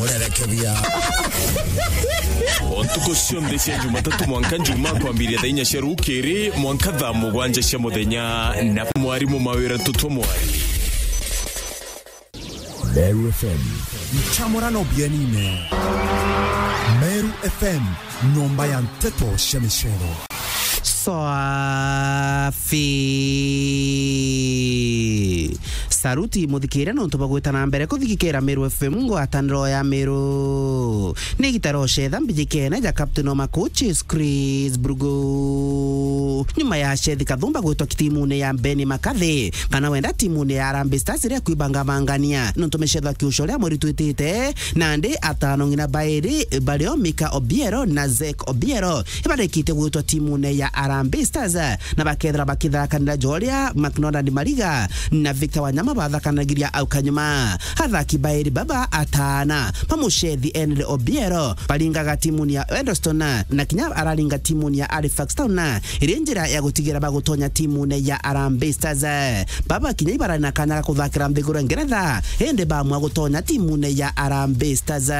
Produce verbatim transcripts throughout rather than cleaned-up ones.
Urerekebia. O ntuku cionthe cia Jumatatu mwanka Njuma, kwambiria thaa inya cia rukiri mwanka thaa mugwanja cia muthenya, na mwarimu mawira tutwa mwari. Meru F M. Nchamurano bienine. Meru F M, nyomba ya nteto cia micero. Swafi. Saruti muthikiria nontu bwa gwita na mbere kuthikikira Meru F M, ngwataniro ya Meru. Ni gitaro cetha mbijikene ja captain wa ma coaches Chris Brugo. Nyuma ya Shethi Kathumba gwitwa timune ya Beni Makathi, kana wenda timune ya Harambee Stars iria kwibangabangania nontu micetho ya kiuco ria mweri twitite, nandi atano ng'ina bairi bario Mika Obiero na Zek Obiero ibarikite gwitwa timune ya Harambee Stars, na bakethira bakitharakanira Joria McNonald Mariga na Victor Wanyama bathakanagiria au kanyuma. Athaki bairi baba atana ba mucethi Henry Obiero baringaga timuni ya Eddleston, na kinya araringa timuni ya Halifax Town, iri njira ya gutigira bagutonya timune ya Harambee Stars. Baba kinya ibarari na kanya ga kuthakira nthiguru ya Ngeretha, indi bamua gutonya timune ya Harambee Stars.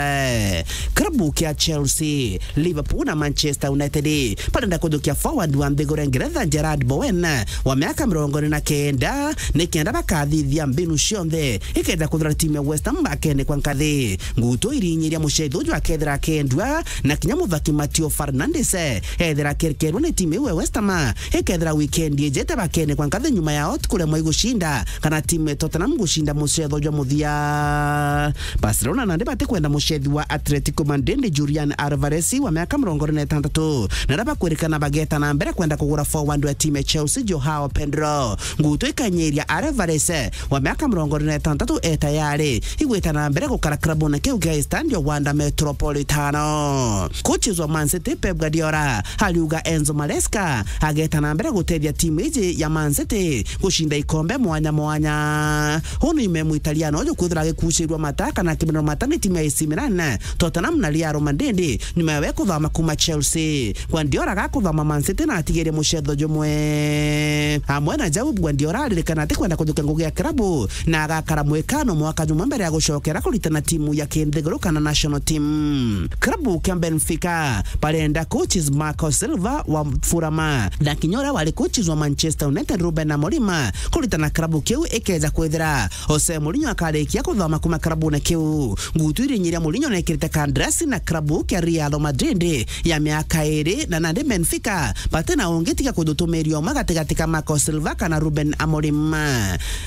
Klabu kia Chelsea, Liverpool na Manchester United barenda kujukia forward wa nthiguru ya Ngeretha Jarrod Bowen wa miaka mirongo iri na kenda, ni kenda bakathithia mbinu cionthe ikenda kuthura timu ya West Ham bakene kwa nkathi. Ngutu irinyiria mucethi uju akethira akendua, na kinya muthaki Mateo Fernandes ethira akerekerwa ni timu iu ya West Ham ikethira weekend ijete bakene kwa nkathi nyuma ya ot kuremwa igucinda kana timu ya Tottenham gucinda mucetho jwa muthia. Barcelona nandi batikwenda mucethi wa Atletico Madrid Julian Alvarez wa miaka mirongo iri na itantatu, na aria bakwirikana bageta na mbere kwenda kugura forward wa timu ya Chelsea Joao Pedro. Ngutu ikanyiria Alvarez wa miaka mirongo iri na itantatu e tayari igwita na mbere gukara klabune kiu kia Estadio Wanda Metropolitano. Coaches wa Man City Pep Guardiola ariuga Enzo Maresca ageta na mbere gutethia timu iji ya Man City gucinda ikombe mwanya mwanya. Uu ni nyuma ya Muitaliano uju kwithirwa agikucirua mata kana akimenwa mata ni timu ya A C Milan, Tottenham na Real Madrid, nyuma ya we kuthama kuma Chelsea. Guardiola agakuthama Man City na atigirie mucetho jumwe. Amwe na jau, Guardiola aririkana atikwenda kujukia ngugi ya kirabu na agakara mwikano mwaka jumwe mbere ya gucokera kuritana timu ya kinthiguru kana national team. Kirabu kia Benfica barenda coaches Marco Silva wa Fulham na kinya uria wari coaches wa Manchester United Ruben Amorim kuritana kirabu kiu ikeja kwithira Jose Mourinho akarikia kuthoma kuma kirabune kiu. Ngutu irinyiria Mourinho nekirite kandarasi na kirabu kia Real Madrid ya miaka iri, na nandi Benfica bati na ungi tiga kuthutumiria umwe gatigati ka Marco Silva kana Ruben Amorim.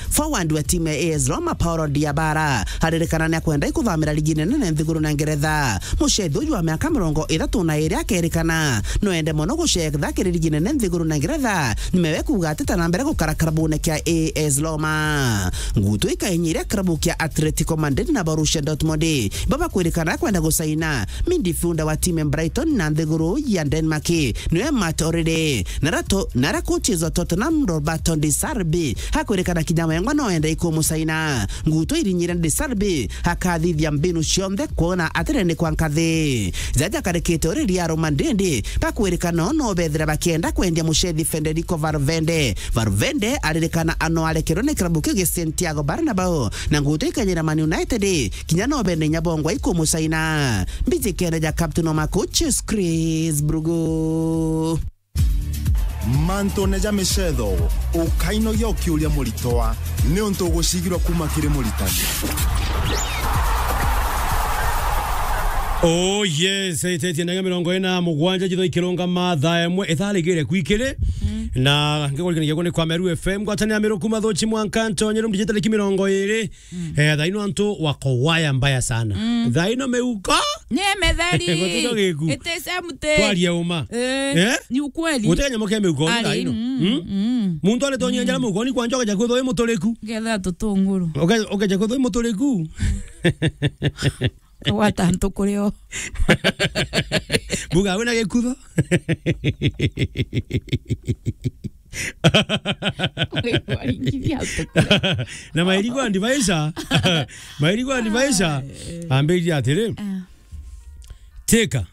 Forward wa timu ya A S Roma, Paulo Dybala, aririkana ni akwenda ikuthamira ligi nene nthiguru na Ngeretha. Mucethi uju wa miaka mirongo ithatu na iri akerikana no ende mono gucetha kiri ligi nene nthiguru na Ngeretha, nyuma we kuuga atita na mbere gukara kirabune kia A S Roma. Ngutu ikainyiria kirabu kia Atletico Madrid na Borussia Dortmund, baba kwirikana kwenda gusaina midfielder wa timu ya Brighton na nthiguru ya Denmark, niwe Matt O'Reilly. Nara to-, nara coaches wa Tottenham, Roberto De Zerbi, akwirikana kinya wengwa no ende ikumusaina. Ngutu irinyire De Zerbi akathithia mbinu cionthe kwona atirene kwa nkathi. Jaja karikite uri Real Madrid bakwirikana no bethira bakienda kwendia mucethi Federico Valverde. Valverde aririkana ano arekerwe ni kirabu kiu gia Santiago Bernabeu, na ngutu ikanyira Man United kinya no bende inya bongwa ikumusaina. Mbijikene ja captain wa ma coaches Chris Brugo. Mantune ja micetho, ukainogia ukiuria muritwa, niuntu ugucigirwa kuma kiri muritani. Oh yes, itetie ndagika mirongo ina na mugwanja jitho ikirungama thaa imwe itharigire kwikiri. Mm. Na ngigurikanagia guni kwa Meru F M, ngwatanira Meru kuma Thuchi mwanka Ntonyeru, mdijitali ki mirongo iri. Mm. Eh, thaa ino antu wako waya mbaya sana. Mm. Thaa ino miuko ni mitheri. Gutino giku. It is empty. Twaria uma. Eh, eh? Ni ukweli. Gutenya muke miuko thaa ino. Mm, mm. Muntu ari tonyia njara miuko ni kwanja ukeja kwithwa wi muturiku. Ngetha tutunguru. Uke-, ukeja kwithwa wi muturiku. Kagwata antu kurio. Mbuga wina gikutho. Waringithia antu kurio. Na mairigo andivaisha. Mairigo andivaisha. Ambiririe atiri. Ah. Teka.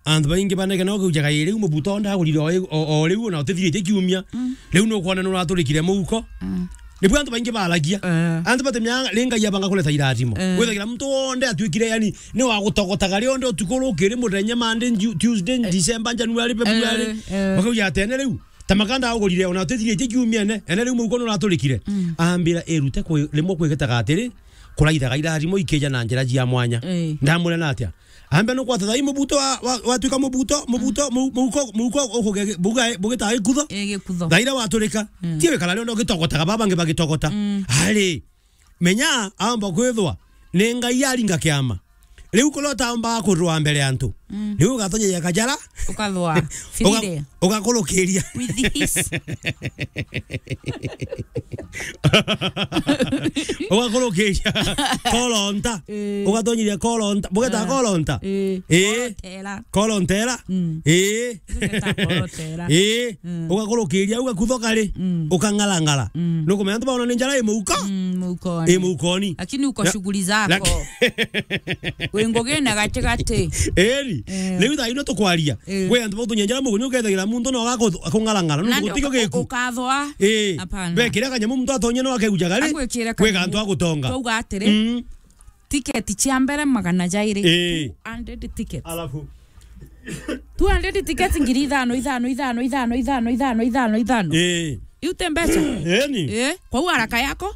Antu baingi banegena ukaujaga iriu mubuto ndagurire o, o, o riu na utithiritie kiumia. Mm. Riu nukwona nuraturikire muhuko. Mm. Nibwo antu baingi baragia. Eh. Antu batemya ringa ya banga kuleta irathimo. Eh. Withagira muntu wonde atuikire, yani, ni wa gutogotaga rionthe utuku rukiri muthenya, Monday, Ju-, Tuesday, eh, December, January, February. Eh, eh. Bakauga ati, "Ene riu, ta makanda agurire, ona utithirie kiumia ene, ene riu muhuko nuraturikire." Mm. Ambira, "Irute kwi-, rimwe kwigitaga atiri, kuraithaga irathimo ikija na njira cia mwanya." Eh. Ndamwira na atia? Ambe no kwata thai mubuto wa, wa, watuika mubuto, mubuto, mu-, muhuko, muhuko ukuge-, buga-, bugitaga gikutho. Eh, gikutho. Thaira waturika. Mm. Ti wikara rionthe ugitogotaga, baba bangi bagitogota. Mm. Ari, menya, aomba kwithwa ni Ngai aringa kiama. Riu kuria utaombaga kurwa mbere ya antu. Mm. Riu ugatonyeria kajara. Ukathwa. Uga-, firire. Ugakurukiria. With his. Ugakurukiria. Kolonta. Eh. Ugatonyeria kolonta. Bugeta, ah, kolonta. Eh. Eh. Kolotera. Kolotera. Mm. Eh. Bugeta kolotera. Eh. Mm. Ugakurukiria, ugakuthoka ri. Mm. Ukang'arang'ara. Mm. Nukumenya antu baona ni njara i muhuko. Mm, muhukoni. I muhukoni. Lakini uko shughuli zako. Lak-, wi ngugine gatigati. Eri. Eh. Riu thaa ino tukwaria. Eh. Gwi antu bagutunyia njara mugunyu, ukethagira muntu no agaku-, akung'arang'ara. Nuntu gutiko giku. Ukathwa. Eh. Hapana. Bekira kanyamu muntu atonye no akegujaga ri. Agwikire kanyamu. Gwi antu agutonga. Twauga atiri, mm, tiketi cia mbere magana jairi. Eh. Two hundred tickets. Alafu. Two hundred tickets ngiri ithano, ithano, ithano. Eh. Iu ti mbeca. Eni. Eh, kwou haraka yako,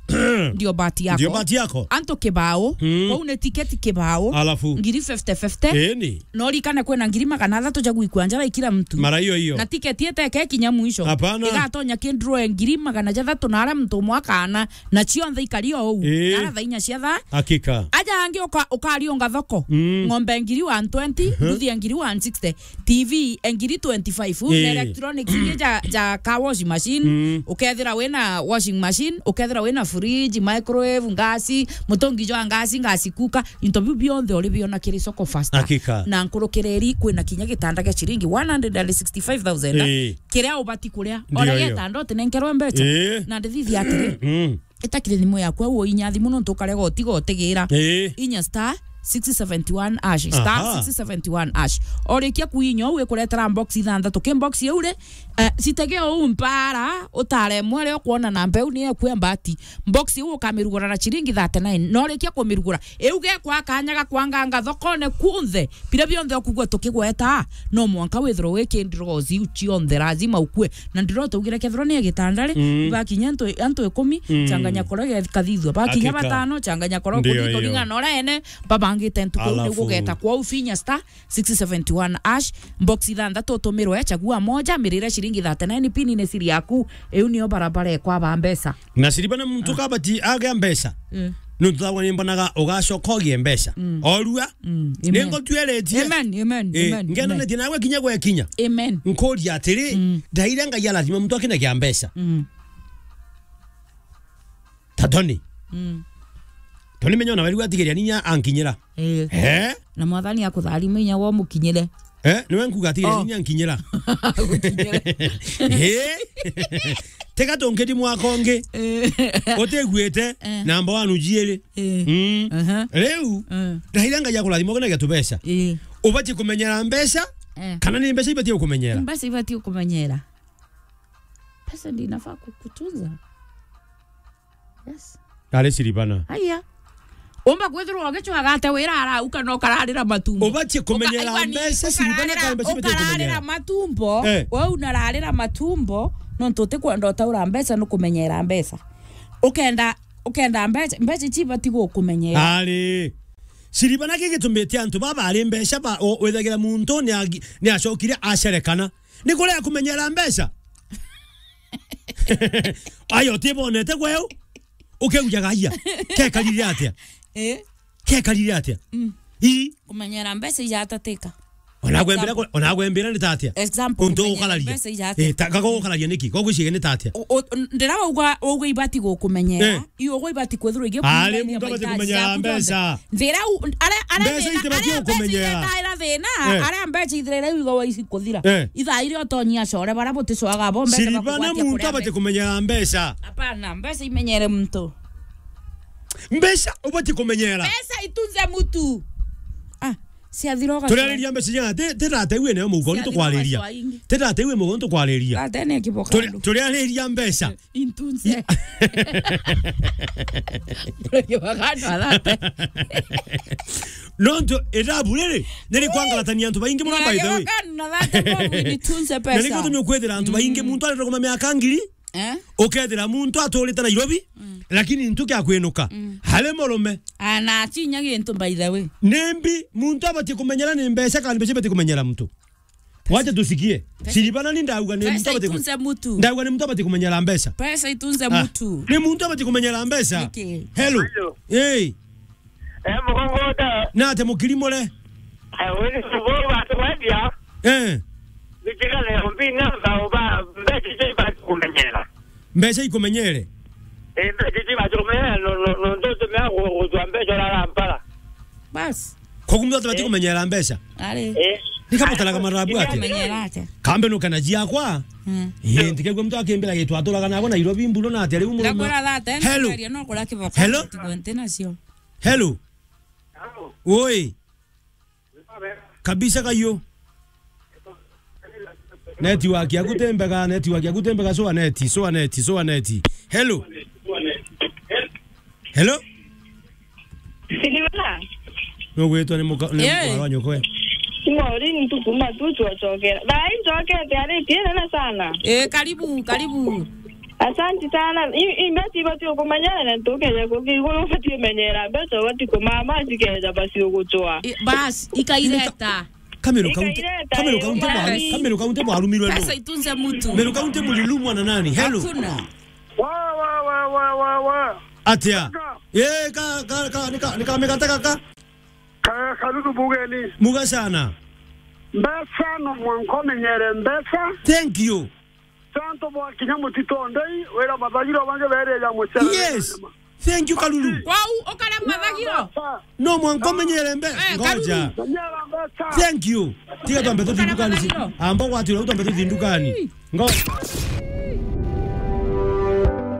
ndio bahati yako. Ndio bahati yako. Antu kibao, mm, kwou ni tiketi kibao. Alafu. Ngiri fifty fifty. Eni. No rikane kwina ngiri magana athatu ja gwikua njara i kila mtu. Mara hiyo hiyo. Na tiketi iteke kinya mwisho. Hapana. Igatonya ki draw ngiri magana jathatu na aria muntu umwe akana, na cionthe ikari o uu. Eh. Na aria thaa inya cia thaa. Hakika. Aja angi uka-, ukariunga thoko. Mm. Ng'ombe ngiri one twenty, mhm, mbuthi ngiri one sixty. T V ngiri twenty-five, eh, na electronics iria ja, ja car wash machine, mm, ukethira wina washing machine, ukethira wina fridge, microwave, ngasi, mutungi jwa ngasi, ngasi kuka, into biu bionthe uri biona kiri soko faster. Hakika. Na nkurukireri kwina kinya gitanda gia ciringi one hundred and sixty-five thousand, eh, kiria ubati kuria. Ndio. Ora hiyo. Gitanda utinenkerwe mbeca. Eh. Na ndithithia atiri. Mm. Itakire thimu yaku, au inya thimu nontu ukarega utiga utigira. Ii. Inya star six seventy one hash, star, aha, six seventy one hash. Orikia kuinya, au ikuretera box ithanthatu. Ki box iu ri, eh, citege uu mpara, utaremwe ri ukwona namba iu ni eku ya mbati. Box iu ukamirugura na ciringi thirty-nine. Na orikia kumirugura, iu gekwa kanya ga kwanganga thokone kunthe. Biria bionthe ukugua tukigweta, no mwanka withirwe wi kindirozi iu cionthe, lazima ukue. Na ndirota ugire kethirwa ni gitanda ri, mm, bakinya antu, antu ikumi, mm, changanya koro ge-, kathithua. Bakinya, hakika, batano, changanya koro, ndio, kuthithua, iyo, ring'ana ora ene, babangite ntuku iu. Alafu, nigugeta kwou, finya star six seventy one hash, box ithanthatu utumirwe, chagua moja, mirire ciringi thirty-nine, pin ni siri yaku, iu niyo barabara ekwa ba mbeca. Na siriba na muntu, ah, kabati agea mbeca. Mm. Nontu thagwa nimbonaga ugacoka ugie mbeca. Mm. Orua. Mm. Amen. Ningotwiritie. Amen, amen, eh, amen, ngendanetie, amen, nawe kinya gwekinya. Amen. Nkuria atiri, mm, ndaire Ngai arathima muntu akina kia mbeca. Mm. Ta Tony. Mm. Tony menya ona weri gwatigiria ninya ankinyira. Eh. Eh? Na Mwathani akutharima inya wo mukinyire. Eh, niwe nkuga atigiria, oh, ninya ankinyira. Gukinyire. Eh? Tega tungiri mwaka ungi. Eh. Utiguite, eh, namba one ujiiri. Eh. Mm. Aha. Riu, eh, ndaire Ngai akurathima ukina gia tubeca. Eh. Ubatie kumenyera mbeca, eh, kana ni mbeca ibatie gukumenyera? Mbeca ibatie kukumenyera. Pesa ndio inafaa kukutunza. Yes. Ari siribana. Aya. Umba kwithirwa ugicwaga ate wira arauka na ukararira matumbo. Ubatie kumenyera mbeca, siribana, kana mbeca ibatie kumenyera. Ukararira matumbo, eh, we unararira matumbo, nontu utikwenda utaura mbeca, nukumenyera mbeca. Ukenda, ukenda mbeca, mbeca ici ibati gukumenyera. Ari. Siribana, ki gitumite antu baba ari mbeca ba, o, withagira muntu ni agi-, ni acokire acerekana. Ni kuria kumenyera mbeca. Ayo, utibonete gweu? Ukeujaga, "Aya, kekarire atia? Eh? Kekarire atia?" Mm. Ii. Kumenyera mbeca ijatatika. Ona gwembira, example, ku-, ona gwembira ni tatia? Example, untu kumenyera ukararia. Mbeca ijatatika. Eh, ta, gago ukararia niki? Gogo icige ni tatia? O, o, ndira wauga, wauga ibati gukumenyera. Eh. Iu ugu ibati kwithirwa igikumenyera. Ari, muntu abati kumenyera mbeca. Nthira u-, aria, aria mbeca thina, itibati aria mbeca gukumenyera. Ithetaira thina, eh, aria mbeca ithirira iu igwa ici kuthira. Eh. Ithaa iria utonyia acore baria buticoaga bo mbeca. Siribana, bakugwatia muntu kuria abati mbe-, kumenyera mbeca. Hapana, mbeca imenyere muntu. Mbeca ubati kumenyera. Pesa itunze mtu. Ah, Ciathira ugacoa. Turiariria mbeca cigana? Ti, ti thate iu ene mugongo, ni tukwariria. Ti thate iu mugongo, ni tukwariria. Thate ni kiboka. Turi-, andu. Turiariria mbeca. Intunze. Turi kiboka andu a thate. Nontu irabu riri, nirikwangarathania antu baingi muno, by the way. Turi kiboka andu a thate, bobu nitunze pesa. Na nikio gitumi ukwithira antu baingi, muntu arenda kuma miaka ngiri, Eh? Ukethira muntu aturite Nairobi, mm, lakini ntu kia kwinuka. Mm. Hari murume. Ana acinya gintu, by the way. Nimbi muntu abatie kumenyera ni mbeca, kana mbeca ibatie kumenyera muntu? Wacha tusikie. Pesa. Siribana ni ndauga ni muntu abatie ku-, pesa itunze mutu. Ndauga ni muntu abatie kumenyera mbeca. Pesa itunze mutu. Ni muntu abatie kumenyera mbeca. Niki? Hello. Hello. Hey. Eh, mugongo uta. Na ate mukiri mure? Eh, wiri subu watu wendia. Eh. Bitika leo mbina ba, ba, mbeca icio ibati kumenyera. Mbeca ikumenyere? Eh, mbeca icio ibati kumenyera, no, no, no, ndo tumea gu-, gutwa mbeca urara mpara. Bas. Koguo muntu atabati kumenyera mbeca? Ari. Eh. Ni kama utaraga marabu atia? Kumenyera atia? Kambe no kana jiakwa. Mm. Eh, ntikegwe muntu akimbira gitu aturaga nabo Nairobi mburo na atia riu murume. Ndakwira that, eh, hello. Nikaria no kura kiboko. Hello? Tigo nti nacio. Hello. Oi. Kabisa kayo. Network yaku ti mbega, network yaku ti mbega, soa neti, soa neti, soa neti. Hello. Hello. Siliwala. No gwitwa ni muka-, ni, eh, mwarwa nyoko we. Ngori ntukuma tu twacokera. Thaa hii ncokete ari tienene sana. Eh, karibu, karibu. Asanti sana. I, i mbeca ibati kumenyera na ntukeja kuki iguru ubati kumenyera mbeca ubati kumama cikeja basi ugucwa. I, bas, ikaireta. Kamero kaunti, ikaireta, kamero kaunti mwaru-, kamero kaunti mwarumirwe no. Pesa itunze mutu. Kamero kaunti mulilumwa na nani? Hello. Hakuna. Wa, wa, wa, wa, wa, wa. Atia? Kaka. Eh, ka, ka, ka, nika, nika migate kaka. Ka, Karuru mugeni. Muga sana. Mbeca no mwanka umenyere mbeca. Thank you. Santo bwa kinya mutito ndei, wira mathagiro bange bereja mucere. Yes. Thank you, Karuru. Kwau, ukare mathagiro? No mwanka umenyere mbe-, eh, ngoja. Karuru. Menyera mbeca. Thank you. Tiga twambe tuthi ndukani ci-, amba gwatira twambe tuthi ndukani. Ngo-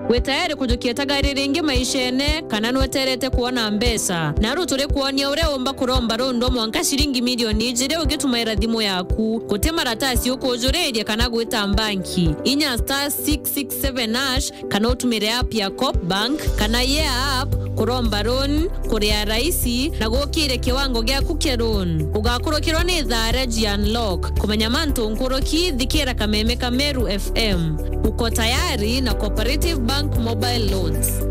Wi tayari kujukia tagari ringi maishene, kana nweterete kwona mbeca? Naru turi kwonia uria umba kuromba rundu mwanka ciringi milioni ijiri ugitumaira thimu yaku. Guti maratasi ukujuriria kana gwita mbanki. Inya star six six seven hash, kana utumire app ya Coop Bank kana Yeah app kuromba loan, kuria raisi na gukire kiwango giaku kia loan. Ugakurukirwa ni thaa ria G Unlock. Kumenya mantu nkuruki, thikira kameme ka Meru F M. Uko tayari na Cooperative Bank Mobile Loans.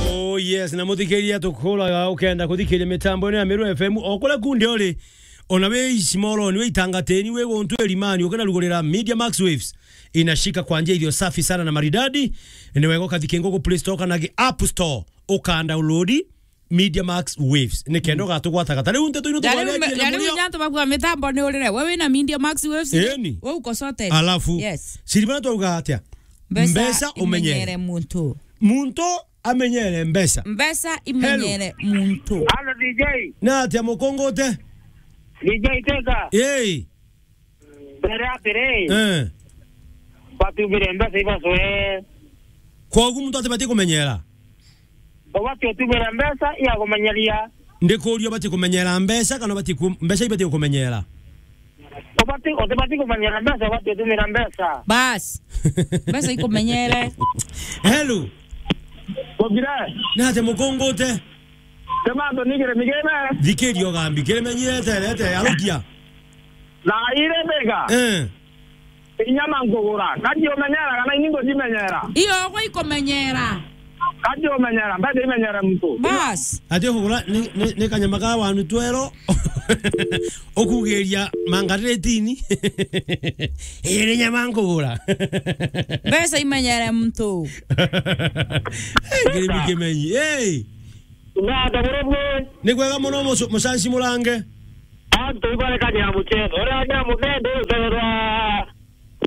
Oh yes, na muthikiria tukuraga ukenda kuthikiria mitambo ino ya Meru F M o kuria kundi uri. Ona wi Isimoroni, wi Itangateni, wi guntu Irimani, ukinarugurira Media Max Waves, inashika kwa njia iliyo safi sana na maridadi. Ni wega ukathikia Google Play Store kana App Store, uka download Media Max Waves. Ni kenda ugatugwataga. Ta riu nteto ino tugwaretie na murio. Nyanto bakwa mitambo ni urire. We wina Media Max Waves? Eni. We uko sorted. Alafu, yes. Siribana twauga atia? Mbeca, mbeca umenyere. Imenyere muntu. Muntu amenyere mbeca. Mbeca imenyere muntu. Hello, D J. Na atia mukungute? D J Teka. Yei. Mbere atiri. Eh. Batumire mbeca ibacwe. Kwogu muntu atibati kumenyera? Ubati utumire mbeca iya kumenyeria. Ndikuria ubati kumenyera mbeca kana ubati ku-, mbeca ibati kumenyera? Ubati, utibati kumenyera mbeca, ubati utumira mbeca. Bas. Mbeca ikumenyere. Hello. Bobire. Nate mukungute? Temanto nigire migeme. Thikiria ugambi, kiri menyire terete, arukia. Na ire mbega. Eh. Inyama nkugura. Kati umenyera kana ini ngucimenyera? Iyo, gwe ikumenyera. Kati umenyera, mbeca imenyere muntu. Bas. Ati ukugura ni, ni, ni kanyama ka wanu twero. Ukugeria mangaretini. Iri nyama nkugura. Mbeca imenyere muntu. Hey, kiri kimenyi. Hey. Na ndagurubwe. Ni kwega muno mucu-, mucanci murange. Antu ibarekania mucene. Uria nya muthende uterwa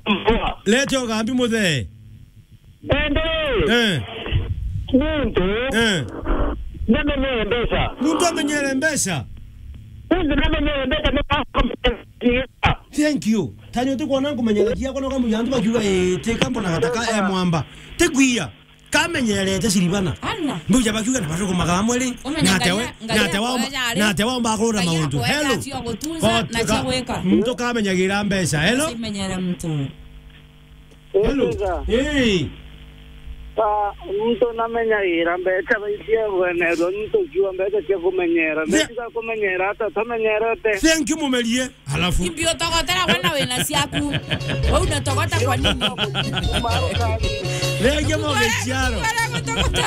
mvua. Lete ugambi muthee. Ende. Eh. Muntu. Eh. Namenyere mbeca. Muntu amenyere mbeca. Muntu namenyere mbeca. Thank you. Tanyo tukwona nkumenyera kiakwa no kamuya antu bakiuga, eh, teka mbona gataka, eh, mwamba. Tekwia. kamenyerete Silvana. Ana. Mbuja bakiuga na batuko magamwe ri. Umenye Nate Ngai we, ya-, Ngai nate wa, yakwa yari. Nate wa mbakurura Ngai maundu. Yakwa Hello. Yari cia gutunza na cia gwika. Muntu kamenyagira mbeca. Hello. Cimenyere muntu. Hello. Ega. Hey. Ah, muntu namenyagira mbeca baitia gwenerwa, muntu jua mbeca cia kumenyera. Mbeca cia kumenyera, ata tamenyerete. Thank you, mumerie. Alafu. Imbi utogotera we na wina ciaku. Wewe unatogota kwa nini? Rege mogechiaro. Wewe unatogota